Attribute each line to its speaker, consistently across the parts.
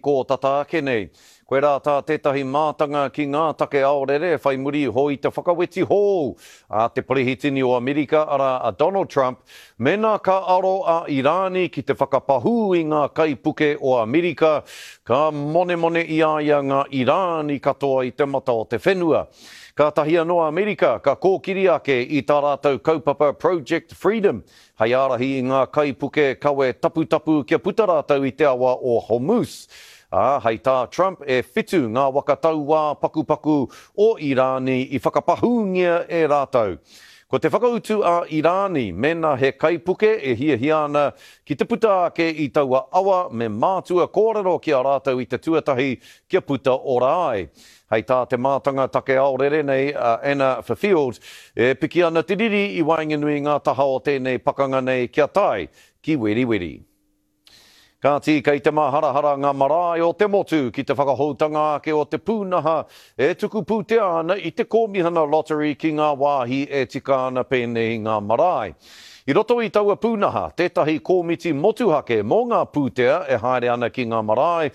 Speaker 1: Kō tata ake nei, koirā tā tētahi mātanga ki ngā take aorere whai muri iho i te whakaweti hou a te Perehitini o Amerika arā a Donald Trump mēnā ka aro a Irāni ki te whakapahū i ngā kaipuke o Amerika, ka monemone i a ia ngā Irāni katoa i te mata o te whenua. Kātahi anō a Amerika ka kōkiri ake i tā rātou kaupapa Project Freedom Hei ārahi i ngā kaipuke kawe taputapu kia puta rātou i te awa o Hormuz. Ā, hei tā Trump, e whitu ngā waka tauā pakupaku o Irāni i whakapahūngia e rātou. Ko te whakautu a Irāni, mēnā he kaipuke e hiahia ana ki te puta ake i taua awa me mātua kōrero ki a rātou i te tuatahi kia puta ora ai. Hei tā te mātanga take aorere nei a Anna Fifield, e piki ana te riri i waenganui i ngā taha o tēnei pakanga nei kia tae ki weriweri. Kāti, kei te māharahara ngā marae o te motu ki te whakahoutanga ake o te pūnaha e tuku pūtea ana i te Kōmihana Lottery ki ngā wāhi e tika ana pēnei i ngā marae. I roto i taua pūnaha, tētahi kōmiti motuhake mō ngā pūtea e haere ana ki ngā marae,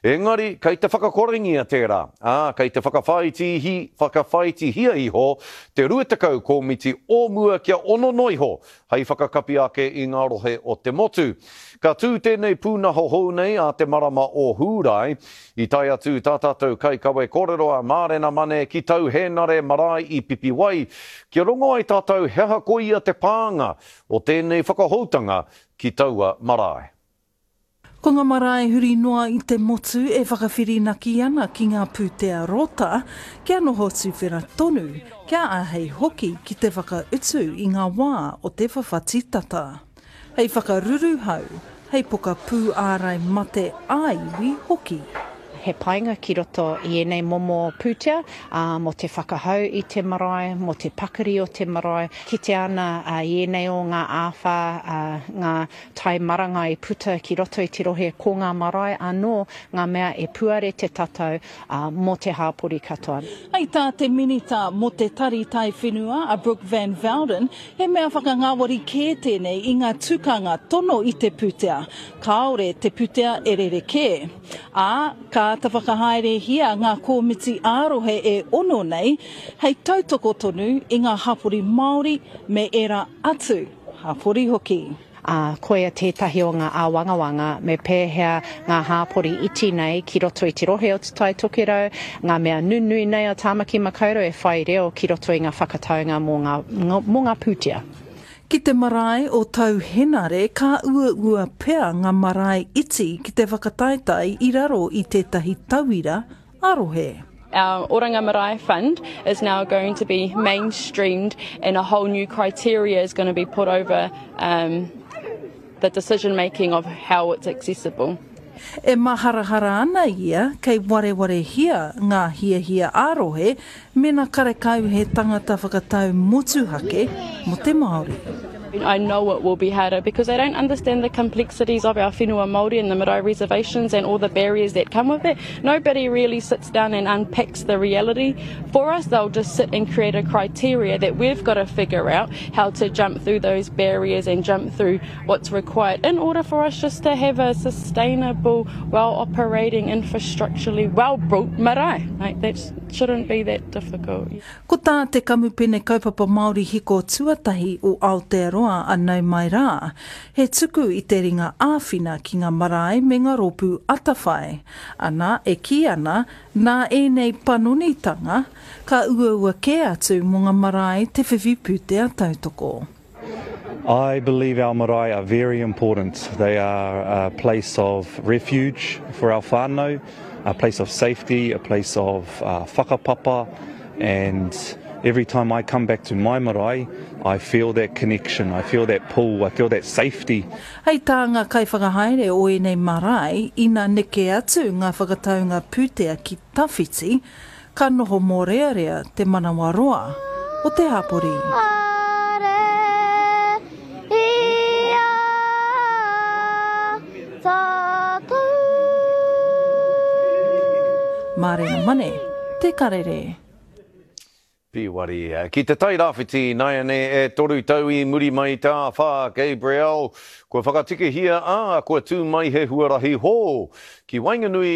Speaker 1: engari kei te whakakorengia tērā, ā, kei te whakawhāitihi, whakawhāitihia iho te 20 kōmiti o mua kia ono noa iho hei whakakapi ake i ngā rohe o te motu. Ka tū tēnei pūnaha hou nei ā te marama o Hūrae. I tae atu tā tātou kaikawe kōrero a Mārena Mane ki Tau Hēnare marae i Pipiwai, kia rongo ai tātou he aha koia te pānga o tēnei whakahoutanga ki taua marae.
Speaker 2: Ko ngā marae huri noa i te motu e whakawhirinaki ana ki ngā pūtea rota kia noho tuwhera tonu, kia āhei hoki ki te whakautu i ngā wā o te whawhati tata. Hei whakaruruhau, hei pokapū ārai mate ā-iwi hoki.
Speaker 3: He painga ki roto i ēnei momo pūtea, ā, mō te whakahau i te marae, mō te pakari o te marae. Kitea ana i ēnei o ngā āwhā, ā, ngā tai marangai puta ki roto i te rohe, ko ngā marae anō ngā mea e puare te tatau, ā, mō te hāpori katoa.
Speaker 2: Hei tā te Minita mō te Tari Taiwhenua a Brooke Van Velden, He mea whakangāwari kē tēnei i ngā tukanga tono i te pūtea, kāore te putea e rerekē. Ā, ka āta whakahaerehia ngā kōmiti ā-rohe e ono nei hei tautoko tonu i ngā hapori Māori me ērā atu hapori hoki.
Speaker 3: Ā, koia tētahi o ngā āwangawanga me pēhea ngā hāpori iti nei ki roto i te rohe o Te Tai Tokerau, ngā mea nunui nei o Tāmaki Makaurau e whai reo ki roto i ngā whakataunga mō ngā, mō ngā pūtea.
Speaker 2: Ki te marae o Tau Henare ka uaua pea ngā marae iti ki te whakataetae i raro i tētahi tauira ā-rohe.
Speaker 4: Our Oranga Marae Fund is now going to be mainstreamed and a whole new criteria is going to be put over um, the decision making of how it's accessible.
Speaker 2: E maharahara ana ia kei warewarehia ngā hiahia ā-rohe Mena karekau he tangata whakatau motuhake mo te Māori.
Speaker 4: I know it will be harder because they don't understand the complexities of our whenua Māori and the marae reservations and all the barriers that come with it. Nobody really sits down and unpacks the reality for us. They'll just sit and create a criteria that we've got to figure out how to jump through those barriers and jump through what's required in order for us just to have a sustainable, well-operating, infrastructurally well-built marae. Like that's Shouldn't be that difficult.
Speaker 2: Ko tā te Kamupene Kaupapa Māori Hiko tuatahi o Aotearoa a Nau Mai Rā, he tuku i te ringa āwhina ki ngā marae me ngā rōpū atawhai. Ana, e kī ana, nā ēnei panonitanga, ka uaua kē atu mō ngā marae te whiwhi pūtea tautoko.
Speaker 5: I believe our marae are very important. They are a place of refuge for our whānau, a place of safety, a place of uh, whakapapa, and every time I come back to my marae, I feel that connection, I feel that pull, I feel that safety.
Speaker 2: Hei tā ngā kaiwhakahaere o ēnei marae, ina neke atu ngā whakataunga pūtea ki tawhiti, Ka noho mōrearea te manawaroa o te hapori. Mārena Mane, Te Karere.
Speaker 1: Pīwari. Ki te Tai Rāwhiti ināianei e toru tau i muri mai i te āwhā Gabrielle, kua whakatikahia, ā, kua tū mai he huarahi hou ki waenganui.